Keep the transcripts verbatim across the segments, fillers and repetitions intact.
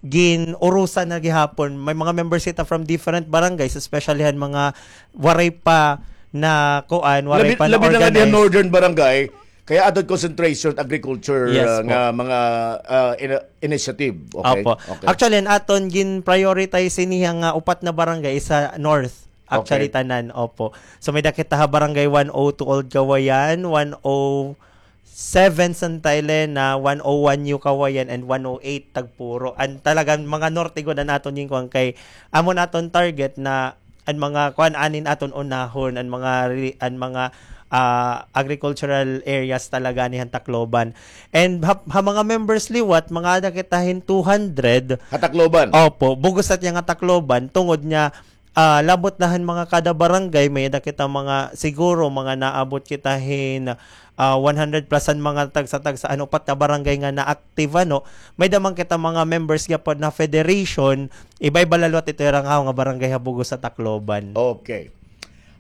gin-urusan na gihapon. May mga members kita from different barangays, especially han mga waray pa na kuan, waray Labi, pa na labi na nga diyan organize. Northern Barangay, kay aton concentration agriculture, Yes ah, po. nga mga ah, ina- initiative. Okay? Opo. Okay. Actually, an aton gin-prioritize niya nga upat na barangay sa North. Actually, Okay. tanan. Opo. So, may-ada kita ha Barangay one oh two Old Kawayan, one oh seven Santa Elena, one oh one New Kawayan, and one oh eight Tagpuro. An talagang mga norte gud an aton ginkuan kay amo an aton target na an mga kuan anin aton unahon, an mga re-, an mga ah, agricultural areas talaga ni han Tacloban. And ha, ha mga members liwat, mga ada kita hin two hundred. Ha Tacloban? Opo, bug-os na it iya nga Tacloban, tungod nga ah, labot na han mga kada barangay, may-ada kita mga, siguro, mga naabot kita hin ah, one hundred plus an mga tagsa-tagsa, ano, upat ka barangay nga na-active, ano. May-ada man kita mga members gihapon na federation, iba-iba la liwat ito ira nga, nga barangay ha bug-os ha Tacloban. Okay.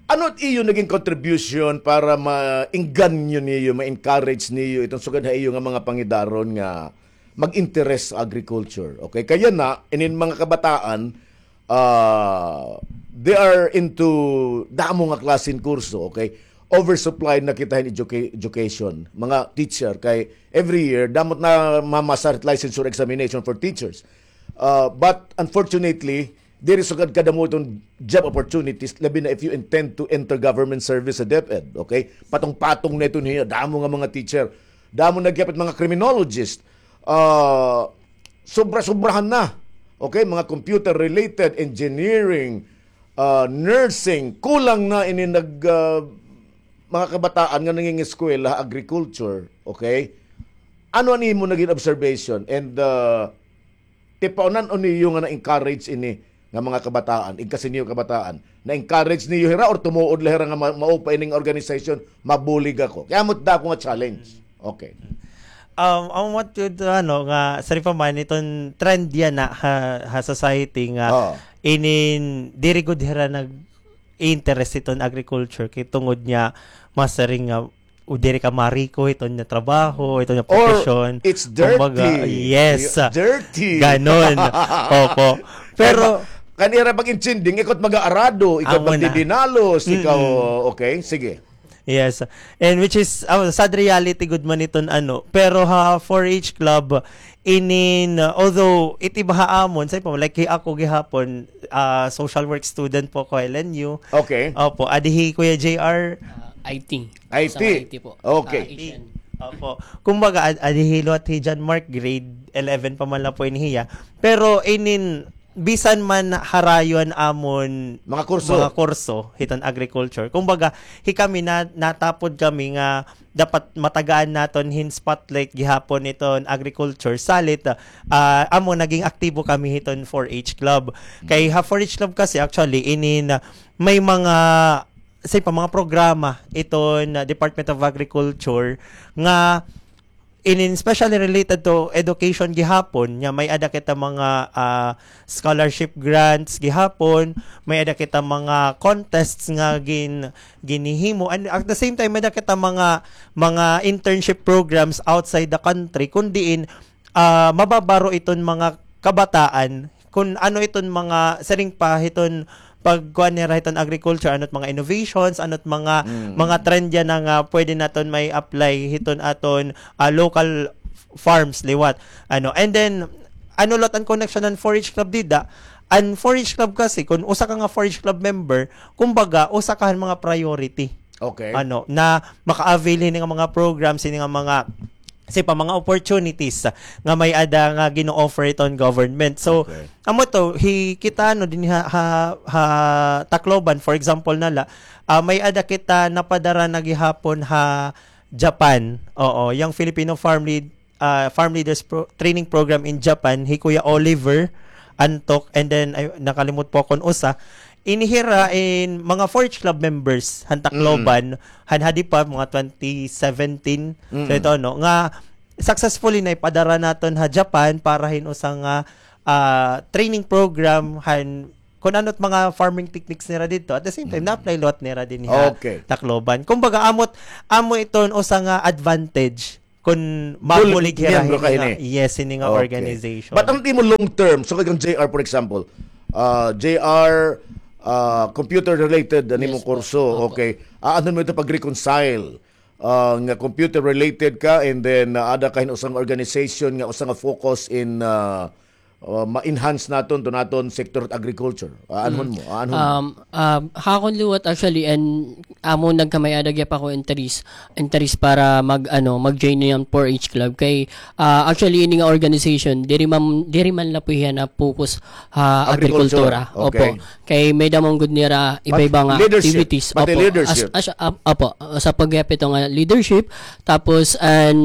Ano it iyo naging contribution para maengganyo niyo, ma-encourage niyo iton sugad ha iyo nga mga pangidaron nga mag-interes sa agriculture? Okay, kay yana, inin mga kabataan, ah, they are into damo nga klase hin kurso, okay? Oversupply na kita hin educa-, education, mga teacher, kay every year, damo it namamasar it licensure examination for teachers. Ah, but unfortunately, diri sugad kadamo iton job opportunities, labi na if you intend to enter government service sa DepEd, okay? Patong-patong na iton hiya, damo nga mga teacher, damo na gihapon mga criminologist, ah, sobra-sobrahan na. Okay, mga computer-related, engineering, ah, nursing, kulang na ini nag, ah, mga kabataan nga nangingeskwela, agriculture, okay? Ano an imo naging observation? And, ah, tipaonan-on niyo nga na-encourage ini nga mga kabataan, igkasi niyo kabataan, na-encourage niyo hira or tumuod la hira nga ma-, maupa ining organization, mabulig ako? Kay amo it dako nga challenge. Okay. Um, amo it, ano, nga, sari pa man, iton trend yana ha, ha society nga, Oo. inin, diri gud hira nag-interest iton agriculture, kay tungod nga, masiring nga, o diri ka mariko, iton nga trabaho, iton nga Or profession. it's dirty. Kumbaga, yes. Y-, dirty. Ganon. Opo. Pero, Kay ma-, kan ira pag-intinding, ikaw it mag-aarado, ikaw Amo na. magdidinalos, ikaw, Mm-mm. okay, sige. Yes. And which is, oh, sad reality gud man iton ano. Pero ha four H club, inin, uh, although it iba ha amon, sa iba, like, hi ako gihapon, ah, social work student po ko, L N U. Okay. Opo, adi hi Kuya J R. Ah, I T. I T. Sa I T po. Okay. Ah, Asian. Opo. Kumbaga, ad-, adi hi liwat hi John Mark, grade eleven pa man la po ini hiya. Pero inin, bisan man harayo an amon Mga kurso. mga kurso hiton agriculture. Kumbaga, hi kami na, natapod kami nga dapat matagaan naton hin spotlight gihapon iton agriculture. Salit, ah, amo naging aktibo kami hiton four H club. Kay ha four H club kasi actually inin, ah, may mga, say pa, mga programa iton, ah, Department of Agriculture nga inin specially related to education gihapon, nga may-ada kita mga, ah, scholarship grants gihapon, may-ada kita mga contests nga gin-, ginhihimo, and at the same time, may-ada kita mga, mga internship programs outside the country, kun diin, ah, mababaro iton mga kabataan, kun ano iton mga, siring pa, hiton pagkuan nira hiton agriculture, ano it mga innovations, ano it mga, Mm. mga trend yana nga pwede naton mai-apply hiton aton, ah, local f-, farms liwat. Ano, and then, ano liwat an connection han four H club dida? An four H club kasi, kun usa ka nga four H club member, kumbaga, usa ka han mga priority. Okay. Ano, na maka-avail hini nga mga programs, hini nga mga, say pa, mga opportunities nga may-ada nga gino-offer iton government. So, Okay. amo to, hi-, kita, no, dinhi ha, ha, ha Tacloban, for example na la, ah, may-ada kita napadara na gihapon ha Japan. Oo, yang Filipino Farm Lead, ah, Farm Leaders Pro-, Training Program in Japan, hi Kuya Oliver Antok, and then, ay, nakalimot po akon usa. Ini hira in mga four H club members, han Tacloban, Mm. han hadi pa, mga twenty seventeen. So, Mm. ito, no, nga successfully na ipadara naton ha Japan para hin usa nga, ah, training program, han, kun ano it mga farming techniques nira didto. At the same time, Mm. na-apply liwat nira dinhi ha Okay. Tacloban. Kumbaga, amo it, amo iton usa nga advantage kun mabulig hira miyembro ka hini nga, hini. Yes, hini nga organization. But an imo long term, so kay kang J R, for example, ah, J R, ah, computer related an imo kurso, okay. Aanhon mo ito pag-reconcile, ah, nga computer related ka, and then, ah, ada ka hin usa nga organization nga usa nga focus in, ah, ah, ma-enhance naton to naton sector of agriculture. Aanhon mo, aanhon mo. Um, um, ha akon liwat, actually, and amo nagkamay-ada gihap ako interest, interest para mag, ano, mag-join niyan four H club. Kay, ah, actually, ini nga organization, diri man, diri man la po hiya na-focus ha agrikultura. Opo. Kay may-ada man gud nira iba-iba nga activities. Opo. As, as, ap-, opo. Sa paghihap ito nga leadership, tapos, an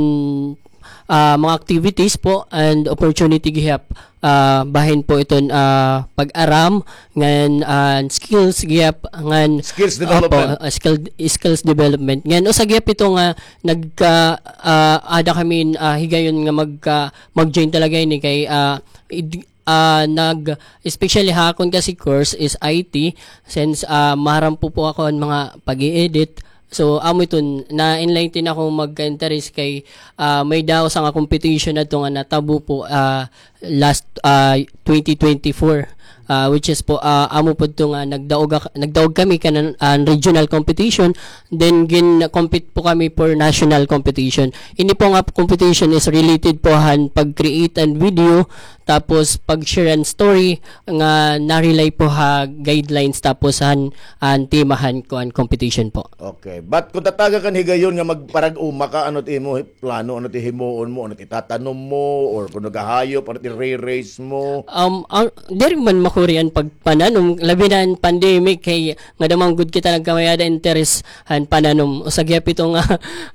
ah, mga activities po and opportunity gihap, ah, bahin po iton, ah, pag-aram ngan, ah, skills gihap ngan, opo, ah, skill, skills development. Ngan usa gihap ito nga nagka, ah, ada kami, ah, higayon nga magka, mag-join talaga ini kay, ah, id-, ah, nag, especially ha akon kasi course is I T, since, ah, maharam po po ako an mga pag-i-edit. So, amo iton, na-enlighten ako magka-interest kay, ah, may-ada usa nga competition adto nga natabo po, ah, last, ah, twenty twenty-four, ah, which is po, ah, amo po ito nga nagdaog ak-, nagdaog kami kanan, ah, regional competition, then gin-compete po kami for national competition. Ini po nga competition is related po han pag-create an video, tapos pag-share an story nga na-rely po ha guidelines tapos han, an tema han kuan competition po. Okay. But kung tatagan ka hin higayon nga magparag-uma ka, ano it imo plano, ano it himuon mo, ano it itatanom mo, or kung naghahayop, ano it ire-raise mo? Um, ah, diri man makuri an pagpananom, labi na an pandemic, kay ngada man gud kita nagkamay-ada interest han pananom. Usa gihap ito nga,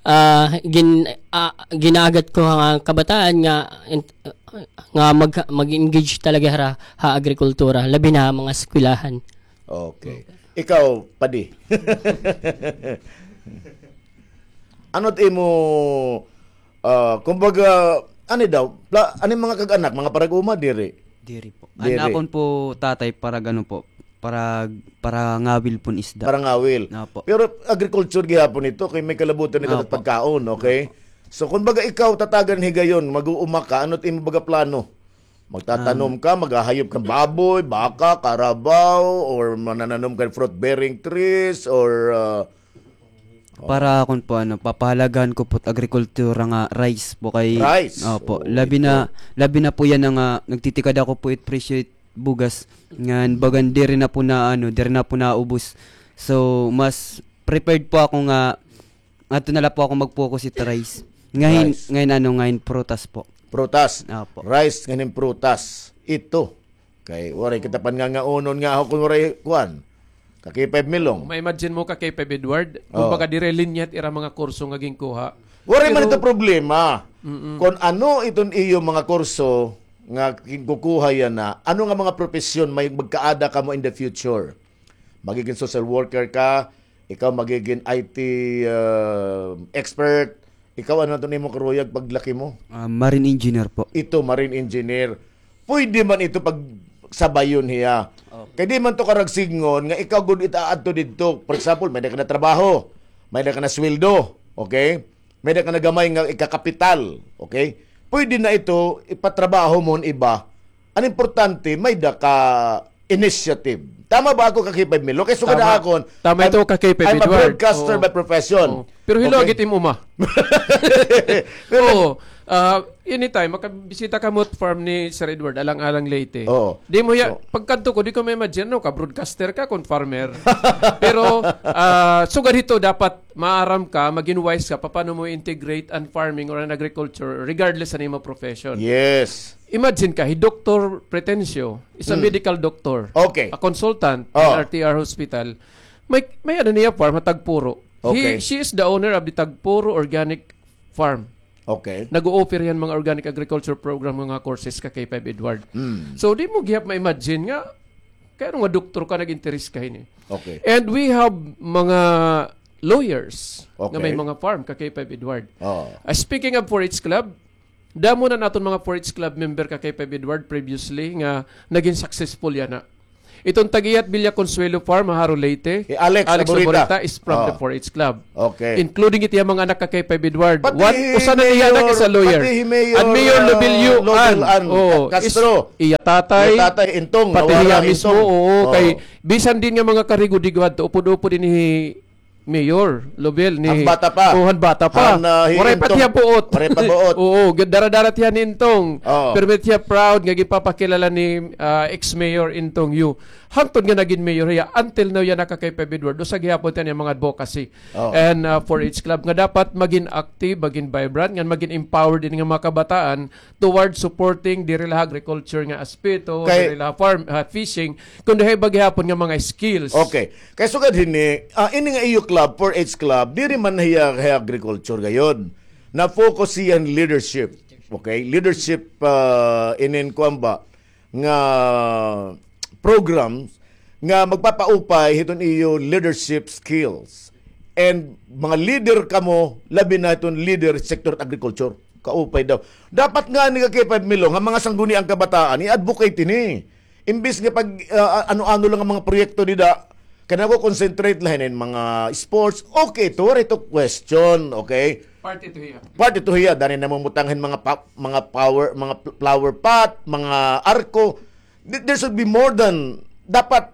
ah, gin-, ah, ginaagat ko nga kabataan nga in-, nga mag-, mag-engage talaga hira ha agrikultura, labi na ha mga eskwelahan. Okay. Ikaw, Padi? Ano it imo, ah, kumbaga, ano daw, pla-, ano it mga kag-anak, mga parag-uma, diri? Diri po. Diri. An akon po tatay parag-ano po, parag-, parangawil pon isda. Parangawil. Opo. Pero agriculture gihapon ito, kay may kalabutan ito pagkaon, okay? Opo. So, kumbaga ikaw, tatagan higayon, mag-uuma ka, ano it imo baga plano? Magtatanom ka, maghahayop ka hin baboy, baka, karabaw, or manananom ka fruit-bearing trees, or, ah, para akon po, ano, papahalagahan ko po it agrikultura nga rice po kay, rice. Opo, labi na, labi na po yana nga nagtitikada ko po it presyo it bugas. Ngan bagan diri na po na, ano, diri na po naubos. So, mas prepared po ako nga adto na la po ako mag-focus it rice. Ngahin, ngahin ano, ngahin prutas po. Prutas. Opo. Rice, ngahin prutas. Ito. Kay waray kita pangangaunon nga ako kun waray kuan. Ka K five Milong. Ma-imagine mo ka K five Edward, kumbaga diri linya it ira mga kurso nga ginkuha. Waray man ito problema. Kun ano iton iyo mga kurso nga ginkukuha yana, ano nga mga propesyon may magkaada kamo in the future? Magigin social worker ka, ikaw magigin I T, ah, expert, ikaw ano iton imo karuyag paglaki mo? Ah, marine engineer po. Ito, marine engineer. Pwede man ito pagsabayon hiya. Kay di man to karagsingon nga ikaw gud it aadto didto. For example, may-ada ka na trabaho, may-ada ka na sweldo, okay? May-ada ka na gamay nga ikakapital, okay? Pwede na ito, ipatrabaho mo an iba. An importante, may-ada ka initiative. Tama ba ako, ka K five Milong? Kay sugad ha akon, tama ito, ka K five Edward. I'm a broadcaster by profession. Oo. Pero hilaw gihap it imo uma. Oo. Ah, anytime, makabisita kamo it farm ni Sir Edward, Alang-alang, Leyte. Oo. Di mo hiya, pagkadto ko, di ko ma-imagine, no, ka broadcaster ka, kun farmer. Pero, ah, sugad hito, dapat maaram ka, magin wise ka, papano mo i-integrate an farming or an agriculture, regardless an imo profession. Yes. Imagine ka, hi Doktor Pretencio, is a medical doctor, okay, a consultant in R T R Hospital. May, may-ada niya farm, ha Tagpuro. Okay. He, she is the owner of the Tagpuro Organic Farm. Okay. Nag-o-offer hiya hin mga organic agriculture program nga courses, ka K five Edward. So, di mo gihap ma-imagine nga, kay ano nga doktor ka, nag-interest ka hini. Okay. And we have mga lawyers nga may mga farm, ka K five Edward. Oo. Ah, speaking of four H club, damo na an aton mga four H club member, ka K five Edward, previously nga nagin successful yana. Iton tag-iya hit Villa Consuelo Farm, Jaro, Leyte. Hi Alex Aburita. Aburita is from the four H Club. Okay. Including it iya mga anak ka kay Five Edward. Pati hi Mayor, pati hi Mayor, Lobilio Ann. Castro. Iya tatay. Iya tatay, Intong, pati hiya mismo, oo, kay bisan din nga mga karigod-rigod adto, upod-upod ini hi Mayor Lobel ni han bata pa. Oh, han bata pa. Waray pa tiya buot. Waray pa buot. Oo, dara-dara tiya ni Intong. Oo. Pero may tiya proud nga ginpapakilala ni, ah, ex-mayor Intong Yu. Hangtod nga nagin mayor hiya, until now, yana ka kay Five Edward. Usa gihapon tiya niya mga advocacy. Oo. And, ah, four H Club nga dapat magin active, magin vibrant, nga magin empowered din nga mga kabataan toward supporting diri la agriculture nga aspeto, diri la farm, ah, fishing, kundi ha iba gihapon nga mga skills. Okay. Kay sugad hini, ah, ini nga iyo club, four H Club, diri man hiya, hiya agriculture gayod. Na-focus hiya hin leadership. Okay? Leadership, ah, inin kuan ba nga programs nga magpapaupay hiton iyo leadership skills. And mga leader kamo, labi na hiton leader sector agriculture. Kaupay daw. Dapat ngani ka kay Five Milong, nga mga sangguniang kabataan, i-advocate ini. Imbis nga pag, ah, ano-ano lang an mga proyekto dida, kay nako-concentrate la hinin mga sports, okay to, waray to question, okay? Part ito hiya. Part ito hiya, dani namumutang hin mga pa-, mga power, mga pl-, flower pot, mga arko. Th-, there should be more than, dapat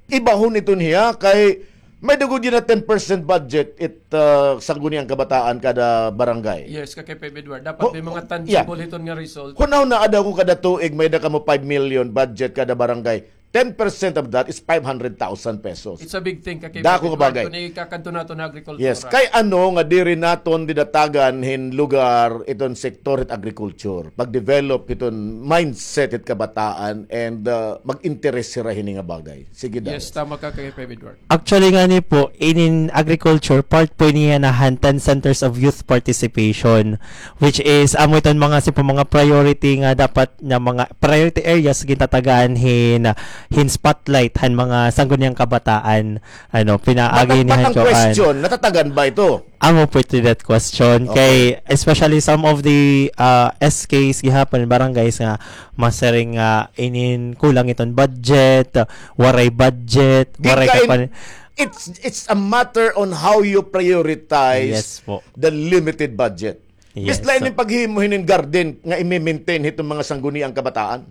ibahon iton hiya, kay may-ada gud yana ten percent budget it, ah, sangguniang kabataan kada barangay. Yes, ka kay Five Edward. Dapat may mga tangible hiton nga result. Hunahunaa daw kon kada tuig may-ada kamo five million budget kada barangay. Ten percent of that is five hundred thousand pesos. It's a big thing, ka kay Five Edward. Dako nga bagay. Kun ikakadto naton ha agrikultura. Yes, kay ano nga diri naton didatagan hin lugar iton sektor hit agrikulture, pag-develop hiton mindset hit kabataan and, ah, mag-interes hira hini nga bagay. Sige, Darius. Yes, tama ka kay Five Edward. Actually, ngani po, inin agriculture, part po niya na han ten centers of youth participation, which is, amo iton mga, sa mga priority nga dapat na mga priority areas gintatagaan hin, hin spotlight han mga sangguniang kabataan, ano, pinaagi ni han kuan. But, but, but ang question, natatagan ba ito? Amo po ito that question. Okay. Kay, especially some of the, ah, S Ks gihapon, barangays nga masiring nga inin kulang iton budget, waray budget, waray kapan- It's, it's a matter on how you prioritize the limited budget. Yes po. Yes. Bis la ini paghimo hinin garden nga imi-maintain hiton mga sangguniang kabataan.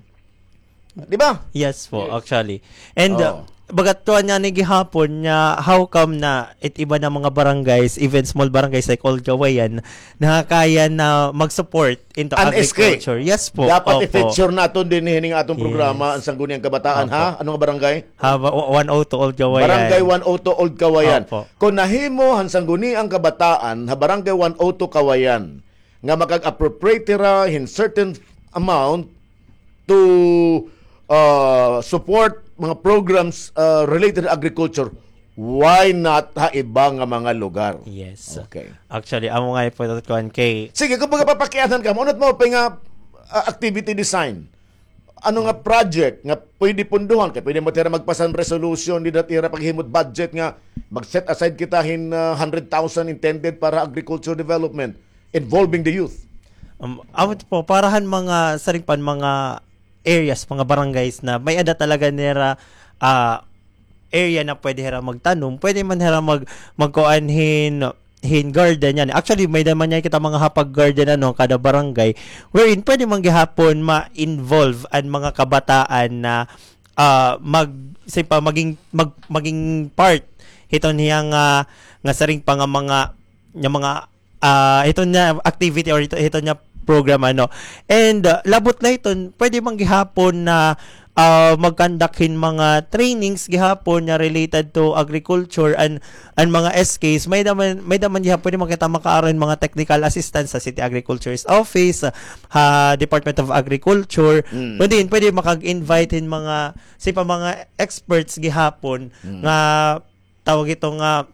Di ba? Yes po, actually. And, uh, bagat tuan niya ni gihapon niya, how come na it iba na mga barangays, even small barangays like Old Kawayan, nakakaya na mag-support into agriculture. Yes po. Dapat i-feature naton dinhi hining aton programa, an Sangguniang Kabataan, ha? Ano nga barangay? Ha, wa-, wa-, one oh two Old Kawayan. Barangay one oh two Old Kawayan. Opo. Kon nahimo han Sangguniang Kabataan ha Barangay one oh two Kawayan nga makag-appropriate hira hin certain amount to, uh, support mga programs, uh, related to agriculture, why not ha iba nga mga lugar? Yes. Okay. Actually, amo nga po ito, kuan, kay... Sige, kumbaga, papakianhan ka, maunat mo pa nga, uh, activity design. Ano nga project nga pwede punduhan? Kay pwede mo tira magpasan resolution, dida tira paghimot budget nga mag-set aside kita hin, ah, hundred thousand intended para agriculture development involving the youth. Um, amo po, para han mga, siring pa, mga areas, mga barangays na may-ada talaga nira, ah, area na pwede hira magtanom, pwede man hira mag-, magkuan hin, hin garden yana. Actually, may-ada man yana kita mga hapag garden, ano, kada barangay, wherein pwede man gihapon ma-involve an mga kabataan na, ah, mag-, siring pa, maging, mag-, maging part hiton hiya nga, nga siring pa nga mga, nga mga ah, hiton nga activity or hiton, hiton nga program, ano. And, ah, labot la hiton, pwede man gihapon na, ah, mag-conduct hin mga trainings gihapon nga related to agriculture and, and mga S Ks. May-ada man, may-ada man gihapon, pwede man kita makaaro hin mga technical assistance ha City Agriculturist Office, ha Department of Agriculture. Mm. Pwede, pwede makag-invite hin mga, siring pa, mga experts gihapon nga tawag ito nga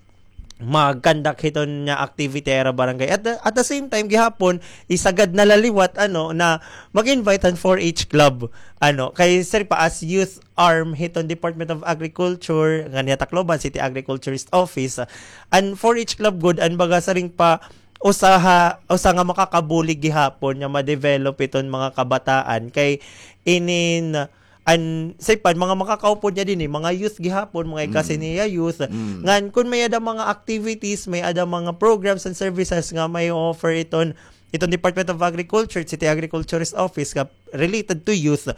mag-conduct hiton nga activity ha ira barangay. At the, at the same time, gihapon, isagad na la liwat, ano, na mag-invite han four H club, ano, kay siring pa as youth arm hiton Department of Agriculture, ngan hiya Tacloban City Agriculturist Office, an four H club gud, an baga siring pa, usa ha, usa nga makakabulig gihapon nga ma-develop hiton mga kabataan, kay inin, an, say pa, mga makakaupod niya dinhi, mga youth gihapon, mga igkasi niya youth. Ngan, kun may-ada mga activities, may-ada mga programs and services nga may offer iton, iton Department of Agriculture, City Agriculturist Office, nga related to youth,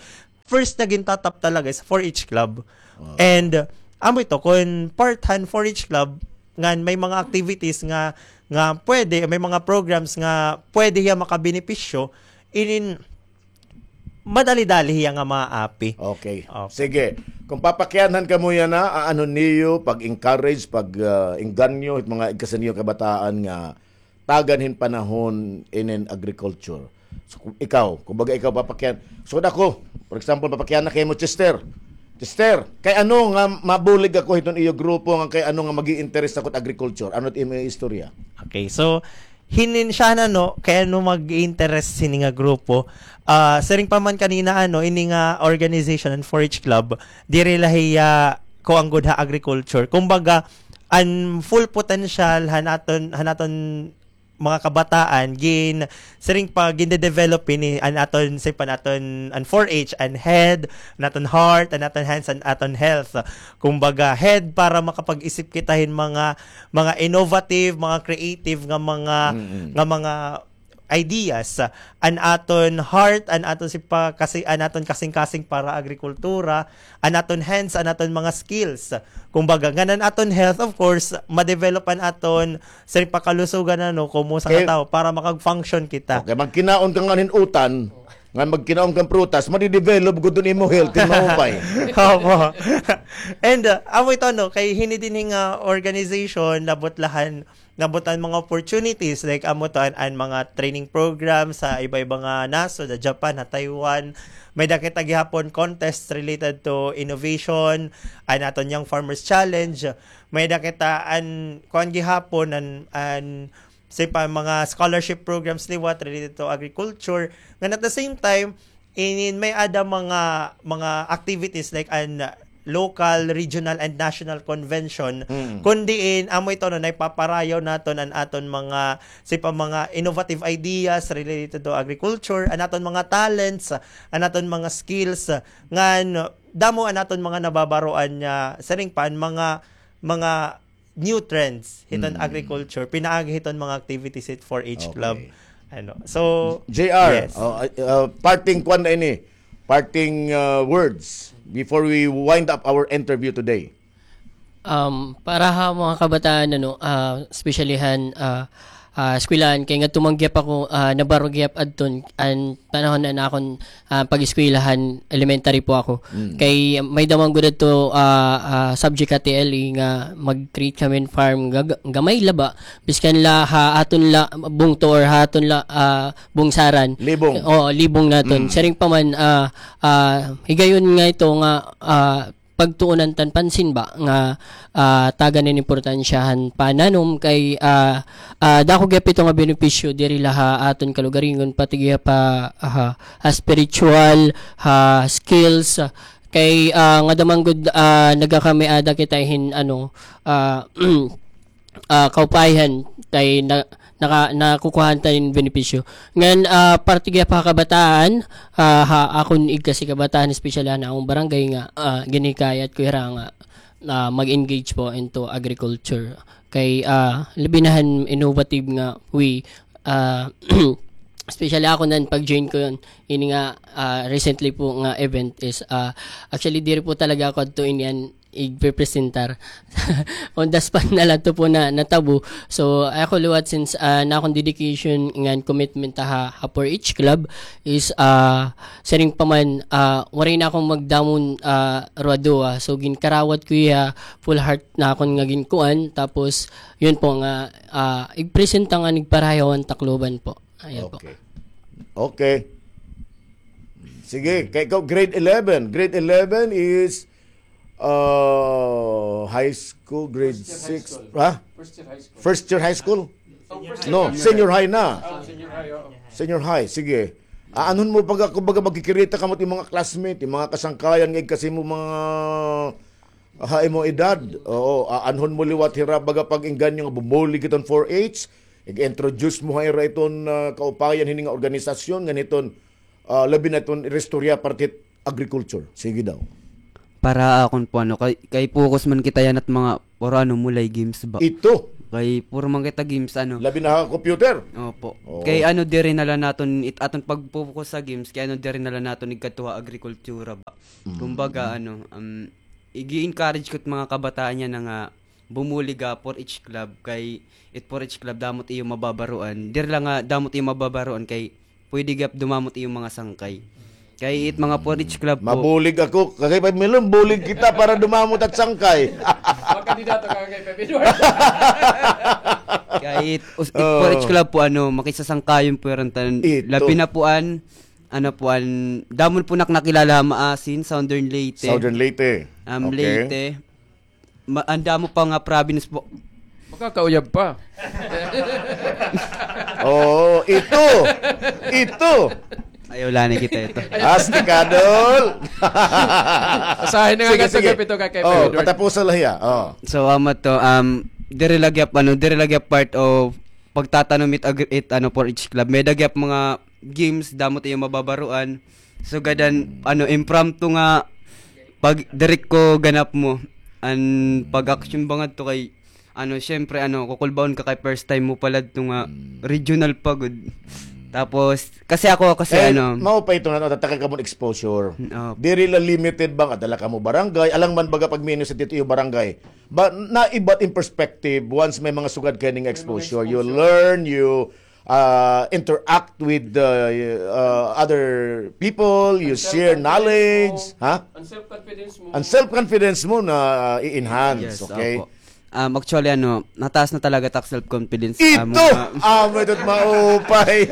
first na gintatap talaga is four H Club. And, uh, amo ito, kun part han four H Club, ngan may mga activities nga, nga pwede, may mga programs nga pwede hiya makabenepisyo, inin, madali-dali hiya nga maapi. Okay. Sige. Kung papakianhan kamo yana, aanhon niyo pag-encourage, pag, ah, engganyo, it mga igkasi niyo kabataan nga tagan hin panahon inin agriculture. So, ku-, ikaw, kumbaga ikaw papakian. So, ako, for example, papakiana kamo, Chester. Chester, kay ano nga mabulig ako hiton iyo grupo, nga kay ano nga mag-i-interest ako hit agriculture? Ano it imo istorya? Okay, so, hinin siya na, no, kay ano mag-interest hini nga grupo. Ah, siring pa man kanina, ano, ini nga organization, an four H Club, diri la hiya kuan gud ha agriculture. Kumbaga, an full potential han aton, han aton mga kabataan, gin, siring pa, ginde-develop ini, an aton, siring pa, an aton, an four H, an head, an aton heart, an aton hands, an aton health. Kumbaga, head para makapag-isip kita hin mga, mga innovative, mga creative nga mga, nga mga ideas, an aton heart, an aton sipa-, kasi, an aton kasingkasing para agrikultura, an aton hands, an aton mga skills. Kumbaga, ngan an aton health, of course, ma-develop an aton siring pa kalusugan, ano, komo sa katawo para makag-function kita. Okay, magkinaon ka ngan hin utan, ngan magkinaon kang prutas, madi-develop gud an imo health, hin maupay. Opo. And, uh, amo ito, no, kay hini dinhi nga organization, labot la han, labot an mga opportunities, like, amo to, an, an mga training programs sa iba-iba nga nasod, ha Japan, ha Taiwan. May-ada kita gihapon contest related to innovation, an aton Young Farmers Challenge. May-ada kita an, kuan gihapon, an, an, siring pa, mga scholarship programs liwat related to agriculture. Ngan at the same time, inin may-ada mga, mga activities like an local, regional, and national convention, kun diin, amo ito, no, naipaparayaw naton an aton mga, siring pa, mga innovative ideas related to agriculture, an aton mga talents, an aton mga skills, ngan damo an aton mga nababaroan nga, siring pa, an mga, mga new trends hiton agriculture, pinaagi hiton mga activities hit four H Club. Ano. So, J R, uh, uh, parting kuan na ini, parting, uh, words before we wind up our interview today. Um, para ha mga kabataan, ano, ah, especially han, ah, ah, eskwelahan, kay ngadto man gihap ako, ah, nabaro gihap adton, an panahon na akon, ah, pag-eskwelahan, elementary po ako. Kay may-ada man gud adto, ah, ah, subject ha T L E nga mag-create kami hin farm, ga-, gamay la ba, biskan la ha aton la bungto or ha aton la, ah, bungsaran. Libong. Oo, libong naton. Siring pa man, ah, ah, higayon nga ito nga, ah, pagtuonan tan pansin ba nga, ah, tagan hin importansya han pananom kay, ah, ah, dako gihap ito nga benepisyo diri la ha aton kalugaringon, pati gihap ha, ha, ha spiritual, ha skills, kay, ah, ngada man gud, ah, nagakamayada kita hin, ano, ah, ah, kaupayan kay na, naka-, nakukuhaan ta hin benepisyo. Ngan, ah, parte gihap ha kabataan, ah, ha akon igkasi kabataan, especially han akon barangay nga, ah, ginhikayat ko hira nga, ah, mag-engage po into agriculture. Kay, ah, labi na han innovative nga way, ah, especially ako nan pag-join ko yun, ini nga, ah, recently po nga event is, ah, actually, diri po talaga ako adto ini an igpepresentar. On the spot na la ito po na natabo. So, ako liwat since, ah, an akon dedication ngan commitment ha, ha four H Club is, ah, siring pa man, ah, waray na akon magdamon, ah, ruwado, ah. So, ginkarawat ko hiya, full heart na akon nga ginkuan. Tapos, yun po nga, ah, igpresenta ngan igparayaw an Tacloban po. Ayan po. Okay. Okay. Sige, kay ikaw, grade eleven. Grade eleven is, uh, high school, grade six. Ha? First year high school. No, senior high na. Senior high, sige. Aanhon mo pag, kumbaga, magkikirita kamo it mga classmate, it mga kasangkayan nga igkasi mo mga ha imo edad. Oo, aanhon mo liwat hira baga pag-engganyo nga bumulig hiton four H, ig-introduce mo ha ira iton, ah, kaupayan hini nga organisasyon ngan hiton, ah, labi na iton iristorya parte hit agriculture. Sige daw. Para akon po, ano, kay, kay focus man kita yana hit mga puro, ano, mulay games ba. Ito. Kay puro man kita games, ano. Labi na ha computer. Opo. Oo. Kay, ano, diri na la naton it-, aton pag-focus ha games, kay, ano, diri na la naton igkadto ha agrikultura ba. Mm. Kumbaga, ano, um, ig-encourage ko it mga kabataan yana nga bumulig ha four H club, kay it four H club damo it iyo mababaroan. Diri la nga damo it iyo mababaroan, kay pwede gihap dumamo it iyo mga sangkay. Kay it mga four H club po. Mabulig ako. Kakay Pay Milong, bulig kita para dumamo it at sangkay. Makandidato ka, Kakay Pay Edward. Kay it, us-, it four H club po, ano, makisasangkayon po ira tanan. Ito. Labi na po an, ano po, an, damo po nak-, nakilala ha Maasin, Southern Leyte. Southern Leyte. Um, okay. Leyte. Ma-, an damo pa nga province po. Makakauyab pa. Oo, ito. Ito. Ayaw la na kita ito. Astig ka, Dol. Asahin na nga. Sige, sige. Ito, Kakay Pay Edward. Patapusan la hiya. Oh. So, amo to, um, diri la gihap, ano, diri la gihap part of pagtatanom it agri-, it, ano, four H club. May-ada gihap mga games, damo it iyo mababaroan. Sugad han, ano, impromptu nga pag-direct ko ganap mo. An pag-action ba ngadto kay, ano, syempre, ano, kukulbaon ka kay first time mo pala adto nga regional pa gud. Tapos, kasi ako, kasi, eh, ano, mao pa ito nga, tatakay ka mo exposure. Mm, opo. Diri la limited ba nga dala ka mo barangay, alang man baga pag-minus it iyo barangay. But naiba it im perspective once may mga sugad ka ini nga exposure. You learn, you uh, interact with the uh, other people, you share knowledge, ha? Ang self-confidence mo. Ang self-confidence mo na, uh, i-enhance, okay? Yes, opo. Um, actually, ano, nataas na talaga it ak self-confidence. Ito! Amo nga, amo ito, maupay.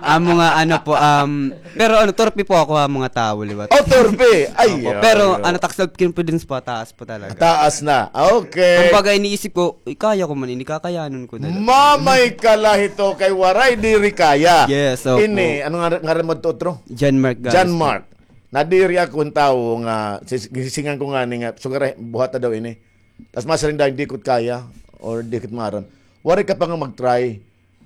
Amo nga, ano po, um, pero ano, torpe po ako ha mga tawo, liwat. Oh, torpe! Ay, opo. Pero, ano, it ak self-confidence po, taas po talaga. Taas na. Okay. Kumbaga, iniisip ko, "Uy, kaya ko man ini, kakayanon ko na la." Mamay ka la hito kay waray diri kaya. Yes, opo. Ini, ano nga, ngaran mo adto, otro? John Mark Gales. John Mark. Nadiri ako hin tawo nga, sis-, gisisingan ko ngani nga, sugad ra, buhata daw ini. Tas masiring dayon, "Di ko kaya, or di ko maaram." Waray ka pa nga mag-try.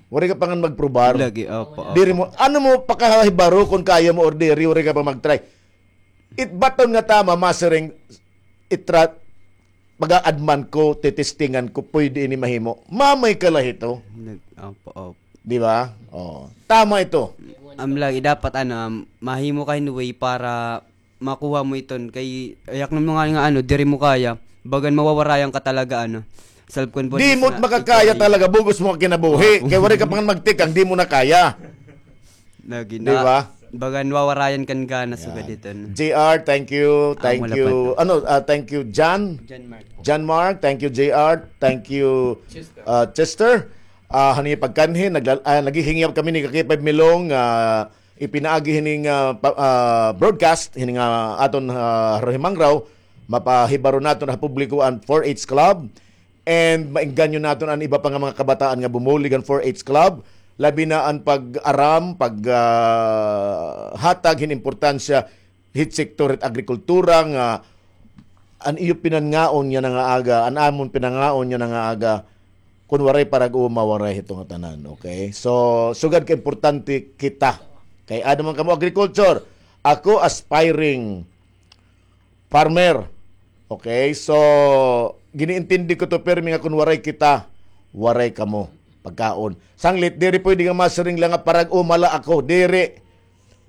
Waray ka pa nga magprobar. Lagi, opo, opo. Diri mo, ano mo pakahibaro kon kaya mo or diri, waray ka pa mag-try. It baton nga tama, masiring, itra-, pag-aadman ko, titestingan ko, pwede ini mahimo. Mamay ka la hito. Nag-, opo, opo. Di ba? Oh, tama ito. Am, lagi dapat, ano, am, mahimo ka hin way para makuha mo iton. Kay, ayak na mga nga, ano, diri mo kaya, bagan mawawarayan ka talaga, ano, self-confidence. Di mo makakaya talaga, bug-os mo kinabuhi. Opo. Kay waray ka pa nga magtikang, di mo na kaya. Lagi na. Di ba? Bagan wawarayan kan gana sugad iton. J R, thank you. Thank you. Ano, ah, thank you, John. John Mark. John Mark, thank you, J R. Thank you, ah, Chester. Ah, han iyo pagkanhi, nagla-, ah, naghihingyap kami ni Kakay Pay Milong, ah, ipinaagi hini nga, ah, pa-, ah, broadcast, hini nga aton, ah, himangraw, mapahibaro naton ha publiko an four H Club. And maengganyo naton an iba pa nga mga kabataan nga bumulig han four H Club, labi na an pag-aram, pag, ah, hatag hin importansya hit sektor hit agrikultura nga an iyo pinangaon yana nga aga, an amon pinangaon yana nga aga, kon waray parag-uma, waray hito nga tanan, okay? So, sugad ka importante kita. Kay ano man kamo agriculture, ako aspiring farmer. Okay, so, giniintindi ko to pirmi nga kon waray kita, waray kamo pagkaon. Sanglit, diri pwede nga masiring la nga parag-uma la ako, diri.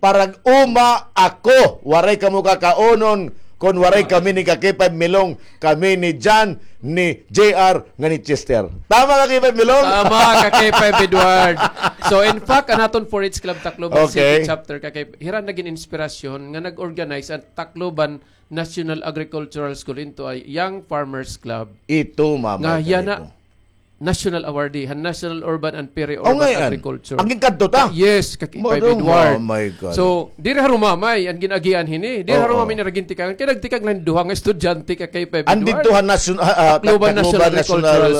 Parag-uma ako, waray kamo kakaunon kon waray kami ni Kakay Pay Milong, kami ni John, ni J R, ngan ni Chester. Tama, Kakay Pay Milong? Tama, Kakay Pay Edward. So, in fact, an aton four H Club Tacloban City Chapter, Kakay, hira nagin inspirasyon nga nag-organize an Tacloban National Agricultural School into a Young Farmers Club. Ito, mama. Nga yana, national awardee han National Urban and Peri-Urban Agriculture. Ang ginkadto ta? Yes, Kakay Pay Edward. Oh my God. So, diri ha Rumamay an gin-agian hini. Diri ha Rumamay nira gintikagan. Kay nagtikang la hin duha nga estudyante, Kakay Pay Edward. Andito ha National, ah, ah, Tacloban National Agricultural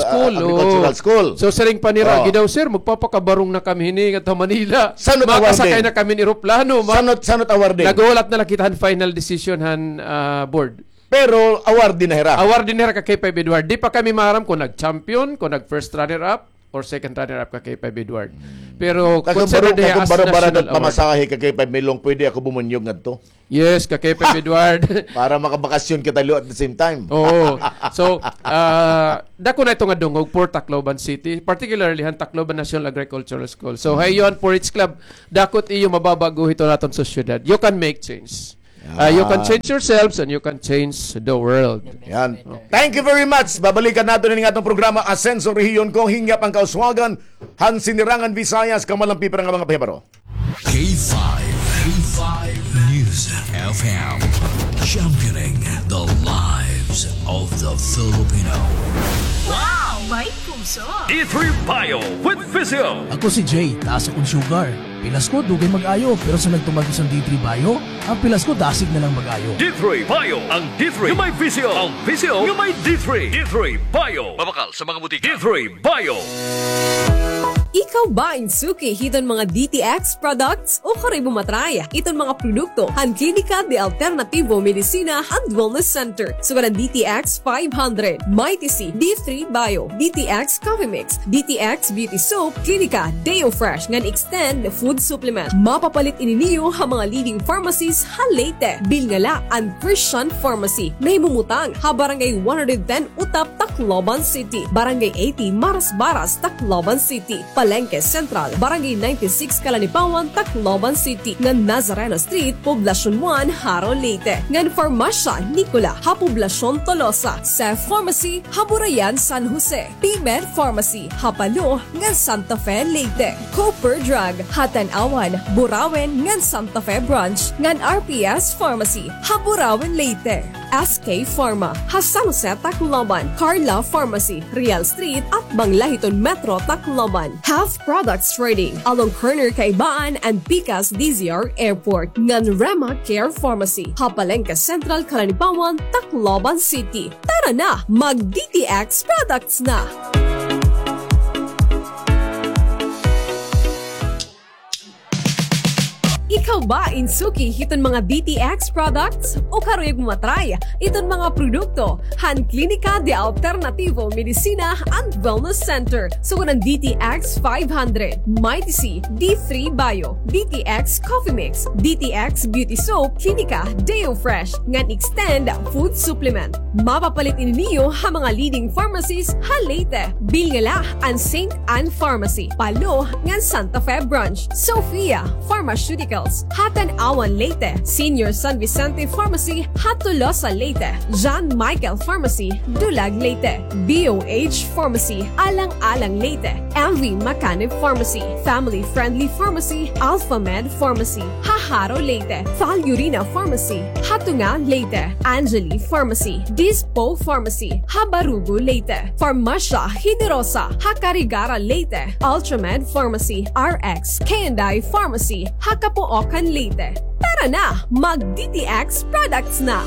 School. So, siring pa nira, "Agi daw, sir, magpapakabarong na kami hini ngadto ha Manila. Makasakay na kami hin eroplano." Sanot, sanot awardee? Naghulat na la kita han final decision han, ah, board. Pero awardee na hira. Awardee na hira, Kakay Pay Edward. Di pa kami maaram kon nag-champion, kon nag-first runner-up. or second runner-up ka K five Edward. Pero consider diha as national award. Pamasahe ka K five Milong, pwede ako bumunyog ngadto. Yes, ka K five Edward. Para makabakasyon kita liwat at the same time. Oo. So, ah, dako na ito nga dungog for Tacloban City, particularly han Tacloban National Agricultural School. So, ha iyo han four H Club, dako it iyo mababag-o hiton aton sosyedad. You can make change. Ah, you can change yourselves and you can change the world. Yan. Thank you very much. Babalikan naton ini nga aton programa, Asenso Rehiyon Ko, hingyap an kauswagan han Sinirangan Visayas, kamalampi para nga mga pahibaro. K five, K five News F M, championing the lives of the Filipino. Wow! May puso! D three Bio with Visio. Ako si Jay, taas akon sugar. Pilas ko, dugay mag-ayo, pero sa nagtumar ko sa D three Bio, an pilas ko dasig na lang mag-ayo. D three Bio, ang D three nga may Visio, ang Visio nga may D three. D three Bio. Mabakal sa mga butika. D three Bio. Ikaw ba in suki hiton mga D T X products? O karoy mo matry iton mga produkto han Klinika de Alternativo Medicina and Wellness Center? Sugad han D T X five hundred, Mighty C, D three Bio, D T X Coffee Mix, D T X Beauty Soap, Klinika Deo Fresh ngan Extend Food Supplement. Mapapalit ini niyo ha mga leading pharmacies ha Leyte. Bilnga la an Christian Pharmacy, nahimumutang ha Barangay one hundred ten Utap, Tacloban City, Barangay eighty, Marasbaras, Tacloban City, Palengke Central, Barangay ninety-six, Calanipawan, Tacloban City, ngan Nazareno Street, Poblacion one, Jaro, Leyte, ngan Farmasya Nicola ha Poblacion Tolosa, Seth Pharmacy ha Burayan, San Jose, P-Med Pharmacy ha Palo ngan Santa Fe, Leyte, Cooper Drug ha Tanauan, Burauen ngan Santa Fe Branch, ngan R P S Pharmacy ha Burauen, Leyte. S K Pharma ha San Jose, Tacloban, Carla Pharmacy, Real Street, atbang la hiton Metro Tacloban. Health Products Trading, along corner Kaibaan and Pikas D Z R Airport, ngan Rema Care Pharmacy ha Palengke Central, Calanipawan, Tacloban City. Tara na, mag D T X products na! Ikaw ba in suki hiton mga D T X products? O karuyag mo matry iton mga produkto han Klinika de Alternativo Medicina and Wellness Center? Sugad han D T X five hundred, Mighty C, D three Bio, D T X Coffee Mix, D T X Beauty Soap, Klinika Deo Fresh, ngan Extend Food Supplement. Mapapalit ini niyo ha mga leading pharmacies ha Leyte. Bilnga la an Saint Anne Pharmacy, Palo, ngan Santa Fe Branch, Sophia Pharmaceuticals ha Tanauan, Leyte, Senior San Vicente Pharmacy ha Tolosa, Leyte, John Michael Pharmacy, Dulag, Leyte, B O H Pharmacy, Alang-alang, Leyte, M V Macanib Pharmacy, Family Friendly Pharmacy, Alpha Med Pharmacy ha Jaro, Leyte, Falurina Pharmacy ha Tunga, Leyte, Angeli Pharmacy, Dispo Pharmacy ha Barugo, Leyte, Farmasya Generosa ha Carigara, Leyte, Ultramed Pharmacy, R X K and I Pharmacy ha Capoocan, Leyte. Tara na, mag D T X products na!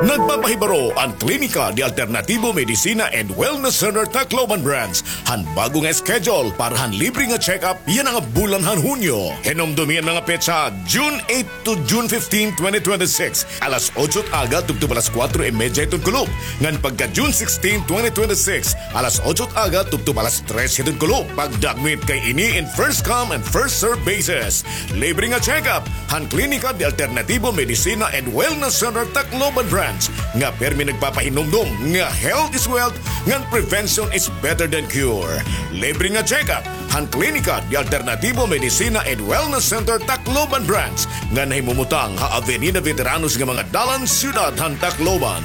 Nagpapahibaro an Klinika de Alternativo Medicina and Wellness Center Tacloban Branch han bag-o nga schedule para han libre nga check-up yana nga bulan han Hunyo. Hinumdomi an mga petsa, June eight to June fifteen, twenty twenty-six, alas otso it aga tubtob alas kuwatro y medya hiton kulop. Ngan pagka June sixteen, twenty twenty-six, alas otso it aga tubtob alas tres hiton kulop. Pagdakmit kay ini in first come and first serve basis. Libre nga check-up han Klinika de Alternativo Medicina and Wellness Center Tacloban Branch, nga pirmi nagpapahinumdom nga health is wealth ngan prevention is better than cure. Libre nga check-up han Klinika de Alternativo Medicina and Wellness Center Tacloban Branch, nga nahimumutang ha Avenida Veteranos nga mga dalan, siyudad han Tacloban.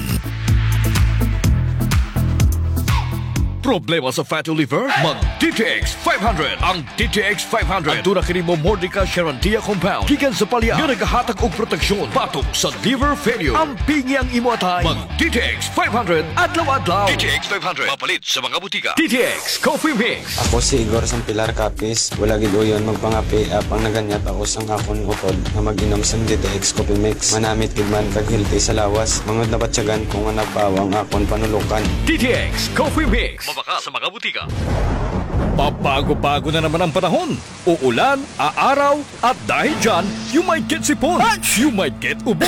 Problema sa fatty liver? Mag D T X five hundred. Ang D T X five hundred. Aduna kini Momordica charantia compound gikan sa palya nga nagahatag og proteksyon batok sa liver failure. Ampingi ang imo atay. Mag D T X five hundred adlaw-adlaw. D T X five hundred. Mapalit sa mga butika. D T X Coffee Mix. Ako si Igor sang Pilar Capiz. Wala gid uyon magpangape, apang naganyat ako sang akon utod nga mag-inom sang D T X Coffee Mix. Manamit gid man kag healthy sa lawas. Mangud nabatyagan ko nga napawa ang akon panulokan. D T X Coffee Mix. Mabakal sa mga butika. Pabago-bago na naman ang panahon. Uulan, aaraw, at dahil dyan, you might get sipon, you might get ubo,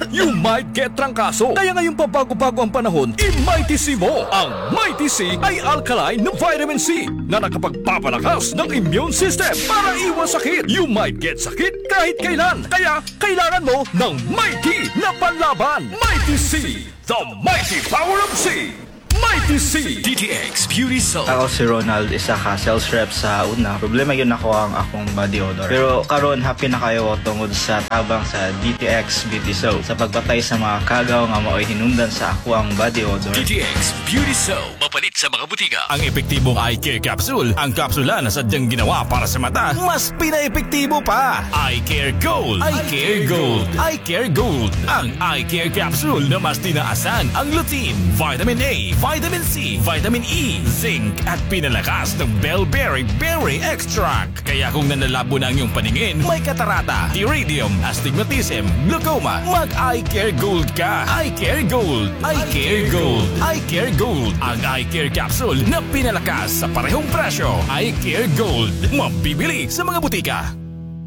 you might get trangkaso. Kaya ngayong pabago-bago ang panahon, i-Mighty C mo. Ang Mighty C ay alkaline na vitamin C na nakapagpapalakas ng immune system para iwas sakit. You might get sakit kahit kailan. Kaya kailangan mo ng Mighty na panlaban. Mighty C, the mighty power of C. Mighty C. D T X Beauty Soap. Ako si Ronald, isa ka sales rep sa una. Problema gyud nako ang akong body odor. Pero karon, happy na kaayo ako tungod sa tabang sa D T X Beauty Soap sa pagpatay sa mga kagaw nga maoy hinungdan sa akoang body odor. D T X Beauty Soap. Mapalit sa mga butika. Ang epektibong eye care capsule, ang kapsula na sadyang ginawa para sa mata, mas pinaepektibo pa. Eye Care Gold. Eye Care Gold. Eye Care Gold. Ang Eye Care Capsule na mas tinaasan ang lutein, vitamin A, vitamin C, vitamin E, zinc, at pinalakas ng bell berry berry extract. Kaya kung nanlalabo na ang iyong paningin, may katarata, pterygium, astigmatism, glaucoma, mag-Eye Care Gold ka. Eye Care Gold. Eye Care Gold. Eye Care Gold. Ang Eye Care Capsule na pinalakas sa parehong presyo. Eye Care Gold. Mabibili sa mga butika.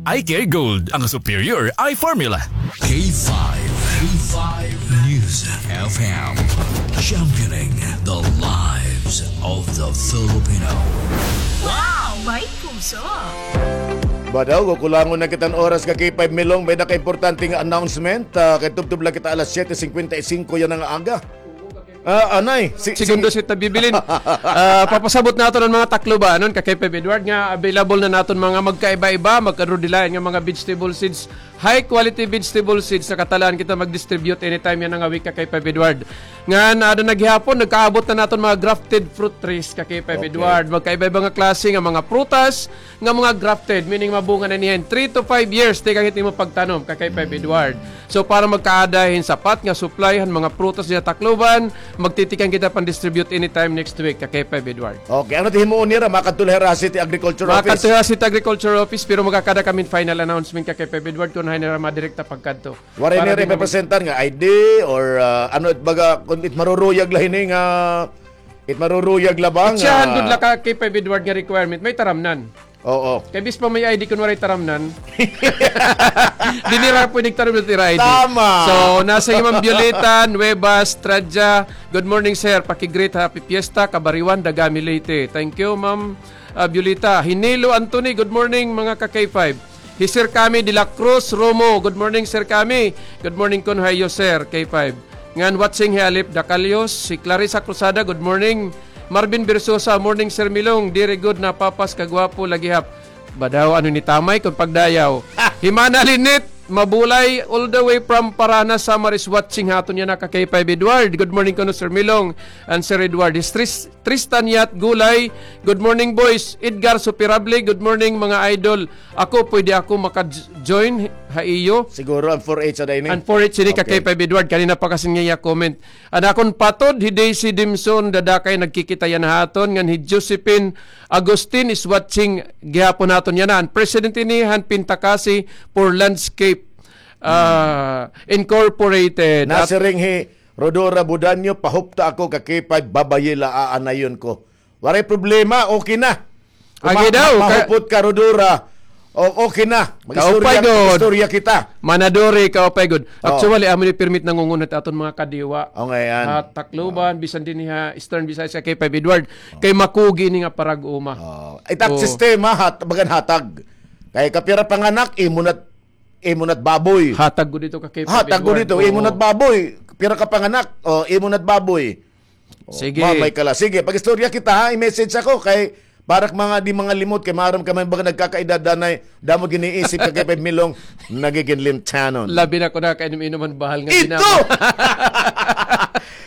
Eye Care Gold, ang superior eye formula. K five, K five News F M, championing the lives of the Filipino. Wow! May puso! Badaw, kukulangon na kita hin oras ka K five Milong, may nakaimportante nga announcement. Ah, kay tubtob la kita alas siyete singkwenta y singko yana nga aga. Ah, anay. Si, Segundo si set ta bibilin. Ah, papasabot naton an mga Taclobanon, ka K five Edward, nga available na naton mga magkaiba-iba, magkadurdilayan nga mga vegetable seeds, high quality vegetable seeds, nakatalaan kita mag-distribute anytime yana nga week, ka K five Edward. Ngan, ah, ada na gihapon, nagkaabot na naton mga grafted fruit trees, ka K five Okay. Edward. Magkaiba-iba nga klase nga mga prutas, nga mga grafted, meaning mabunga na niyan three to five years, tikang hit imo pagtanom, ka K five Edward. So, para magkaada hin sapat nga supply han mga prutas dida Tacloban, magtitikang kita pan-distribute anytime next week, ka K five Edward. Okay, ano it himuon nira? Makadto la hira ha City Agriculture Office? Makadto hira ha City Agriculture Office, pero magkakada kami hin final announcement, ka K five Edward, kon hain nira madirekta pagkadto. Waray nira ipepresentar nga I D or, ah, ano it baga, kon it maruruyag la hini nga, it maruruyag la ba nga It siya han gud la, ka K five Edward, nga requirement, may taramnan. Oo. Kay bis pa may I D kon waray taramnan. Diri nira pwede taramnan it ira I D. Tama. So, nasa hi Ma'am Violeta Nuevas Tradia. Good morning, sir. Paki-greet, happy fiesta, Kabariwan, Dagami, Leyte. Thank you, Ma'am, ah, Violeta. Hinilo Anthony, good morning, mga ka K five. Hi Sir Kami de la Cruz Romo, good morning, Sir Kami. Good morning, Konhayo, Sir, K five. Ngan watching hi Alip Dacalios, si Clarissa Cruzada, good morning. Marvin Versosa, morning, Sir Milong. Diri gud napapas kagwapo lagi hap. Badaw, ano ni Tamay kon pagdayaw. Hi Mana Lynette Mabulay, all the way from Paranas, Samar, is watching ha aton yana ka K five Edward. Good morning kuno, Sir Milong and Sir Edward. Hi Tris-, Tristan Yat Gulay, good morning, boys. Edgar Superable, good morning, mga idol. Ako, pwede ako maka-join ha iyo? Siguro an four H ada ini. An four H ini ka Okay. K five Edward, kanina pa kasi nga iya comment. An akon patod, hi Daisy Dimson, dada kay nagkikita yana ha aton, ngan hi Josephine Agustin is watching gihapon ha aton yana. An president ini han Pintakasi for Landscape, ah, Incorporated. At Nasiring hi Rodora Budanyo, pahupta ako ka K five, babayi la aanayon ko. Waray problema, okay na. Agi daw, ka- Mahupot ka, Rodora. O, okay na. Mag-istorya, Kaupay gud. Mag-istorya kita. Manadori, kaupay gud. Oh. Actually, amo ni permit nangungunot aton mga kadiwa. O, ngay-an. Ha Tacloban, bisan dinhi ha Eastern Visayas, ka K five Edward. Oh. Kay makugi ini nga parag-uma. Oh. Itap sistema, hat-, bagan hatag. Kay kapira panganak, imo na, imo na't baboy. Hatag gud ito ka K five Edward. Hatag gud ito, imo na't baboy. Pira ka panganak, o, imo na't baboy. O, sige. Mamay ka la. Sige, pag-istorya kita, ha? I-message ako kay para ka mga di mga limot kay maaram ka man baga nagkakaedad danay, damo giniisip ka kay Ped Milong, nagigin limtanon. Labi na ko na kainom-inom an bahal nga ginama. Ito!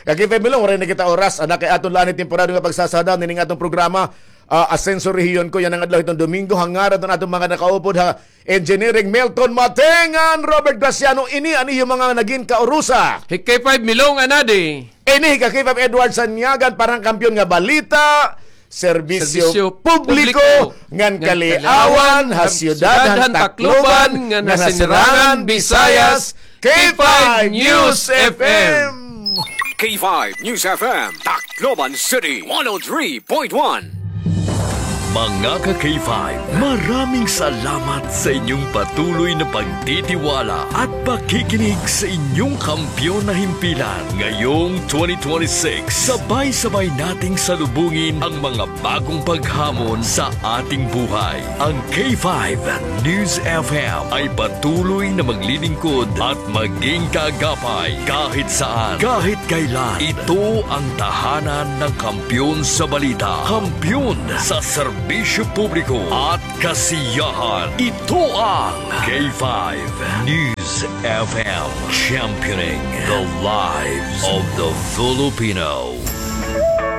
Kay Ped Milong, waray na kita oras. Ana kay aton la ini temporaryo nga pagsasada nining aton programa, ah, Asenso Rehiyon Ko, yana nga adlaw hiton Domingo, ha ngaran han aton mga nakaupod ha Engineering Milton Matengan, Robert Graciano, ini an iyo mga nagin kaurusa. Hi K five Milong anadi. Ini hi ka K five Edward Sanyagan para han Kampiyon nga Balita, Serbisyo Publiko, ngan Kaliawan ha Siyudad han Tacloban, ngan ha Sinirangan Visayas, K five News F M. K five News F M, Tacloban City, one oh three point one. Mga ka-K five, maraming salamat sa inyong patuloy na pagtitiwala at pakikinig sa inyong kampiyon na himpilan. Ngayong twenty twenty-six, sabay-sabay nating salubungin ang mga bagong paghamon sa ating buhay. Ang K five News F M ay patuloy na maglilingkod at maging kaagapay kahit saan, kahit kailan. Ito ang tahanan ng kampiyon sa balita, kampiyon sa serbisyo publiko at kasiyahan. Ito ang K five News F M, championing the lives of the Filipino.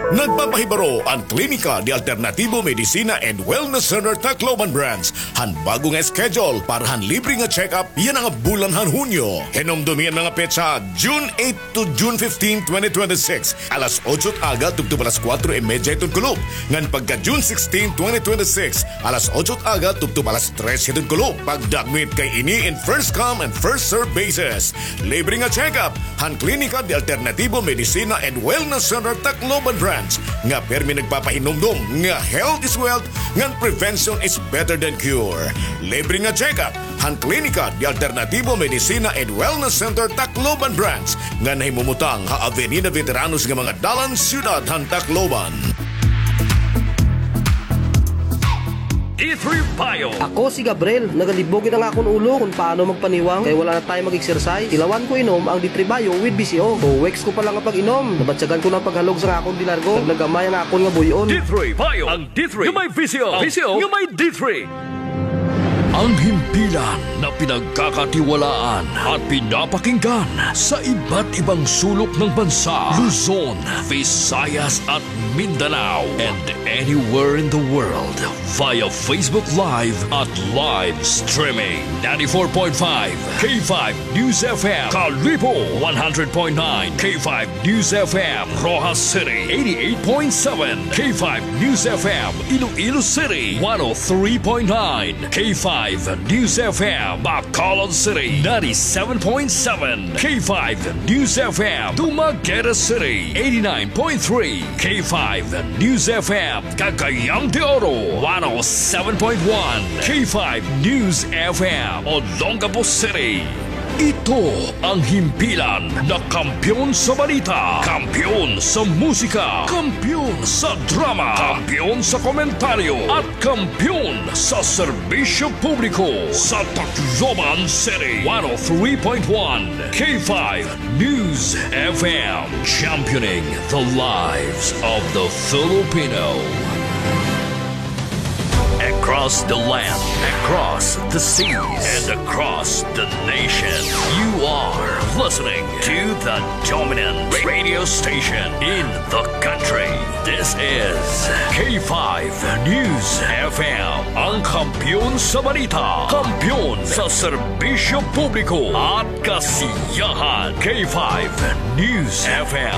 Nagpapahibaro an Klinika de Alternativo Medicina and Wellness Center Tacloban Branch han bag-o nga schedule para han libre nga check-up yana nga bulan han Hunyo. Hinumdomi an mga petsa, June eight to June fifteen, twenty twenty-six, alas otso it aga tubtob alas kuwatro y medya hiton kulop. Ngan pagka June sixteen, twenty twenty-six, alas otso it aga tubtob alas tres hiton kulop. Pagdakmit kay ini in first come and first serve basis. Libre nga check-up han Klinika de Alternativo Medicina and Wellness Center Tacloban Branch nga pirmi nagpapahinumdom nga health is wealth ngan prevention is better than cure. Libre nga check-up han Klinika de Alternativo Medicina and Wellness Center Tacloban Branch nga nahimumutang ha Avenida Veteranos nga mga dalan, siyudad han Tacloban. D three Bio. Ako si Gabriel. Nagalibog gid an akon ulo kon paano magpaniwang kay wala na time mag-exercise. Tilawan ko inom ang D three Bio with V C O. Two weeks ko pa lang nga pag-inom, nabatyagan ko na an paghalog sa akon dilargo. Naglagamay an akon nga buy-on. D three Bio. Ang D three nga may V C O. V C O nga may D three. Ang himpilan na pinagkakatiwalaan at pinapakinggan sa iba't ibang sulok ng bansa, Luzon, Visayas at Mindanao, and anywhere in the world via Facebook Live at live streaming. Ninety-four point five K five News F M, Kalibo, one hundred point nine K five News F M, Roxas City, eighty-eight point seven K five News F M, Iloilo City, one oh three point nine K five News F M, Bacolod City, ninety-seven point seven K five News F M, Dumaguete City, eighty-nine point three K five News F M, Cagayan de Oro, one oh seven point one K five News F M, Olongapo City. Ito ang himpilan na kampiyon sa balita, kampiyon sa musika, kampiyon sa drama, kampiyon sa komentaryo, at kampiyon sa serbisyo publiko sa Tacloban City, one oh three point one K five News F M, championing the lives of the Filipino. Across the land, across the seas, and across the nation, you are listening to the dominant radio station in the country. This is K five News F M, ang kampiyon sa balita, kampiyon sa serbisyo publiko at kasiyahan. K five News F M,